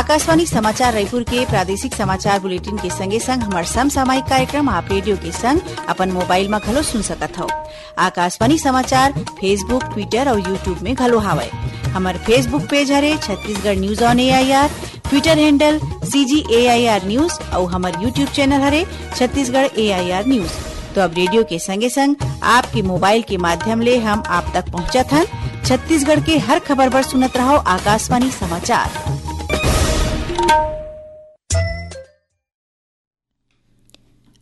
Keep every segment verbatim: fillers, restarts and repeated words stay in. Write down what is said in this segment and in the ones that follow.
आकाशवाणी समाचार रायपुर के प्रादेशिक समाचार बुलेटिन के संगे संग हमर समसामयिक कार्यक्रम आप रेडियो के संग अपन मोबाइल म घलो सुन सकत हव। आकाशवाणी समाचार Facebook, Twitter अउ YouTube में घलो हावय। हमर Facebook पेज हरे Chhattisgarh news on AIR, Twitter handle CG AIR news अउ हमर YouTube चैनल हरे छत्तीसगढ़ एआईआर न्यूज। तो अब रेडियो के संगे संग आपके मोबाइल के माध्यम ले हम आप तक पहुंचत हन। छत्तीसगढ़ के हर खबर बर सुनत रहव आकाशवाणी समाचार।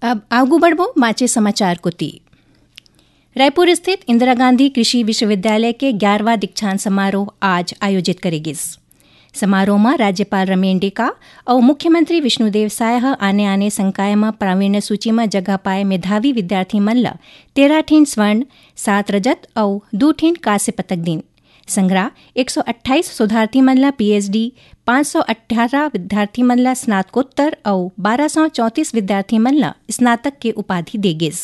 अब आगू बढ़बो बांचे समाचार कोति। रायपुर स्थित इंदिरा गांधी कृषि विश्वविद्यालय के ग्यारहवाँ दीक्षांत समारोह आज आयोजित करे गिस। समारोह म राज्यपाल रमेन डेका अउ मुख्यमंत्री विष्णुदेव साय ह आने-आने संकाय म प्रावीण्य सूची म जगह पाए मेधावी विद्यार्थी मन ल तेरह ठिन स्वर्ण, सात रजत अउ दू ठिन कांस्य पदक दीन। संघरा एक सौ अट्ठाईस शोधार्थी मन ल पीएचडी, पाँच सौ अट्ठारह विद्यार्थी मन ल स्नातकोत्तर अउ बारह सौ चौंतीस विद्यार्थी मन ल स्नातक के उपाधि दे गिस।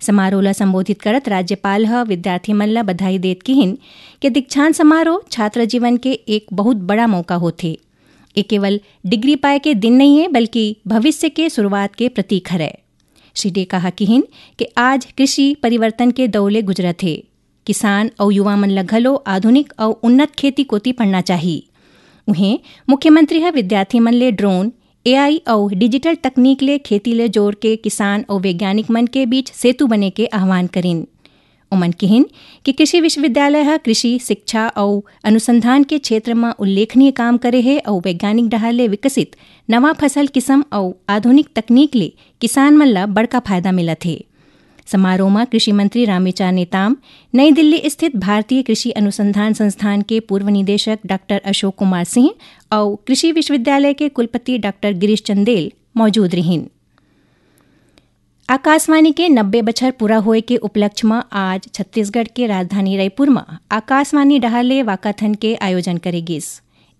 समारोह ल संबोधित करत राज्यपाल ह विद्यार्थी मन ल बधाई देत किहिन के दीक्षांत समारोह छात्र जीवन के एक बहुत बड़ा मौका होथे। ये केवल डिग्री पाए के दिन नइये, बल्कि भविष्य के शुरुआत के प्रतीक हरय। श्री डेका ह किहिन के आज कृषि परिवर्तन के दौर ले गुजरत हे। किसान अउ युवा मन ल घलो आधुनिक अउ उन्नत खेती कोति पढ़ना चाही। उहें, मुख्यमंत्री ह विद्यार्थी मन ले ड्रोन, एआई अउ डिजिटल तकनीक ले खेती ले जोड़ के किसान अउ वैज्ञानिक मन के बीच सेतु बने के आह्वान करिन। ओमन किहिन कि कृषि विश्वविद्यालय ह कृषि, शिक्षा अउ अनुसंधान के क्षेत्र म उल्लेखनीय काम करे हे अउ वैज्ञानिक डहार ले विकसित नवा फसल किसम अउ आधुनिक तकनीक ले किसान मन ल बड़का फायदा मिलत हे। समारोह म कृषि मंत्री रामविचार नेताम, नई दिल्ली स्थित भारतीय कृषि अनुसंधान संस्थान के पूर्व निदेशक डॉक्टर अशोक कुमार सिंह अउ कृषि विश्वविद्यालय के कुलपति डॉक्टर गिरीश चंदेल मौजूद रिहिन। आकाशवाणी के नब्बे बछर पूरा होए के उपलक्ष्य म आज छत्तीसगढ़ के राजधानी रायपुर म आकाशवाणी डहार ले वाकाथन के आयोजन करे गिस।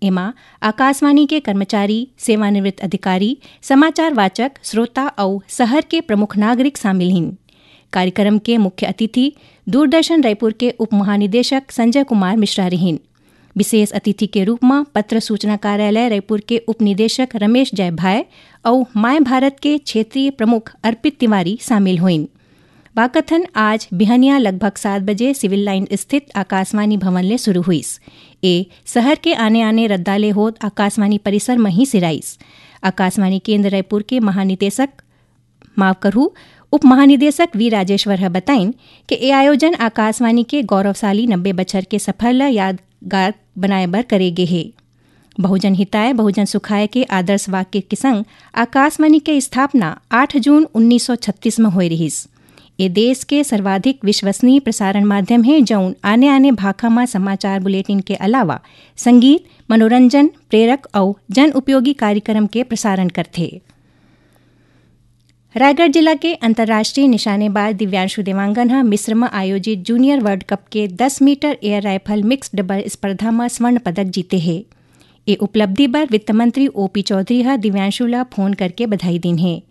एमा आकाशवाणी के कर्मचारी, सेवानिवृत्त अधिकारी, समाचार वाचक, श्रोता अउ शहर के प्रमुख नागरिक शामिल हिन। कार्यक्रम के मुख्य अतिथि दूरदर्शन रायपुर के उप महानिदेशक संजय कुमार मिश्रा रिहिन। विशेष अतिथि के रूप म पत्र सूचना कार्यालय रायपुर के उप निदेशक रमेश जयभाय अउ माय भारत के क्षेत्रीय प्रमुख अर्पित तिवारी शामिल होइन। वाकाथन आज बिहनिया लगभग सात बजे सिविल लाइन स्थित आकाशवाणी भवन ले शुरू हुईस। ए शहर के आने-आने रद्दा ले होत आकाशवाणी परिसर म ही सिराइस। आकाशवाणी केंद्र रायपुर के महानिदेशक, माफ करहू, उप महानिदेशक वी राजेश्वर ह बताइन कि ए आयोजन आकाशवाणी के गौरवशाली नब्बे बछर के सफर ल यादगार बनाए बर करे गे हे। बहुजन हिताय, बहुजन सुखाय के आदर्श वाक्य के संग आकाशवाणी के स्थापना आठ जून उन्नीस सौ छत्तीस म होए रिहिस। ए देश के सर्वाधिक विश्वसनीय प्रसारण माध्यम हे, जउन आने-आने भाखा म समाचार बुलेटिन के अलावा संगीत, मनोरंजन, प्रेरक अउ जन उपयोगी कार्यक्रम के प्रसारण करथे। रायगढ़ जिला के अंतर्राष्ट्रीय निशानेबाज दिव्यांशु देवांगन ह मिस्र म आयोजित जूनियर वर्ल्ड कप के दस metre air rifle mixed double स्पर्धा म स्वर्ण पदक जीते हे। ए उपलब्धि बर वित्त मंत्री ओपी चौधरी ह दिव्यांशु ल फोन करके बधाई दीन हे।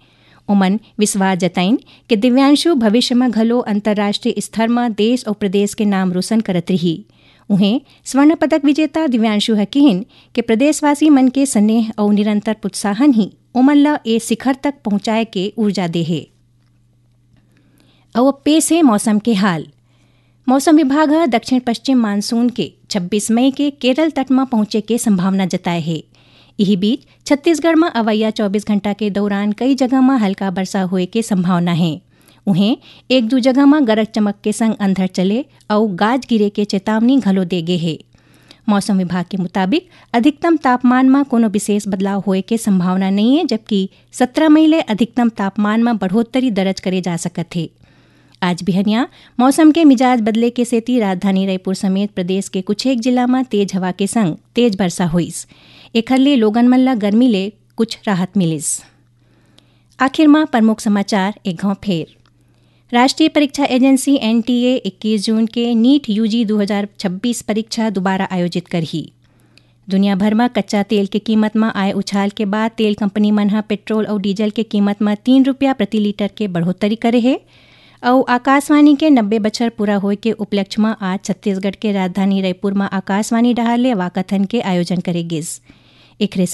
ओमन विश्वास जताइन कि दिव्यांशु भविष्य म घलो अंतर्राष्ट्रीय स्तर म देश अउ प्रदेश के नाम रोशन करत रिही। उहें, स्वर्ण पदक विजेता दिव्यांशु ह किहिन कि प्रदेशवासी मन के स्नेह अउ निरंतर प्रोत्साहन ही ओमन ल ए शिखर तक पहुंचाए के ऊर्जा दे हे। अउ अब पेश हे मौसम के हाल। मौसम विभाग ह दक्षिण पश्चिम मानसून के छब्बीस मई के केरल तट म पहुंचे के संभावना जताए हे। इही बीच, छत्तीसगढ़ म अवइया चौबीस घंटा के दौरान कई जगह म हल्का वर्षा होए के संभावना हे। उहें, एक दू जगह म गरज चमक के संग अंधड़ चले अउ गाज गिरे के चेतावनी घलो दे गे हे। मौसम विभाग के मुताबिक, अधिकतम तापमान म कोनो विशेष बदलाव होए के संभावना नइये, जबकि सत्रह मई ले अधिकतम तापमान म बढ़ोत्तरी दर्ज करे जा सकत हे। आज बिहनिया मौसम के मिजाज बदले के सेती राजधानी रायपुर समेत प्रदेश के कुछ एक जिला म तेज हवा के संग तेज वर्षा होइस। एखर ले लोगन मन ल गर्मी ले कुछ राहत मिलिस। आखिर म प्रमुख समाचार एक घांव फेर। राष्ट्रीय परीक्षा एजेंसी एनटीए इक्कीस जून के नीट यूजी दू हजार छब्बीस परीक्षा दोबारा आयोजित करही। दुनिया भर म कच्चा तेल के कीमत म आए उछाल के बाद तेल कंपनी मन ह पेट्रोल अउ डीजल के कीमत म तीन रुपया प्रति लीटर के बढ़ोत्तरी करे हे। अउ आकाशवाणी के नब्बे बछर पूरा होए के उपलक्ष्य म आज छत्तीसगढ़ के राजधानी रायपुर म आकाशवाणी डहार ले वाकाथन के आयोजन करे गिस। एखरे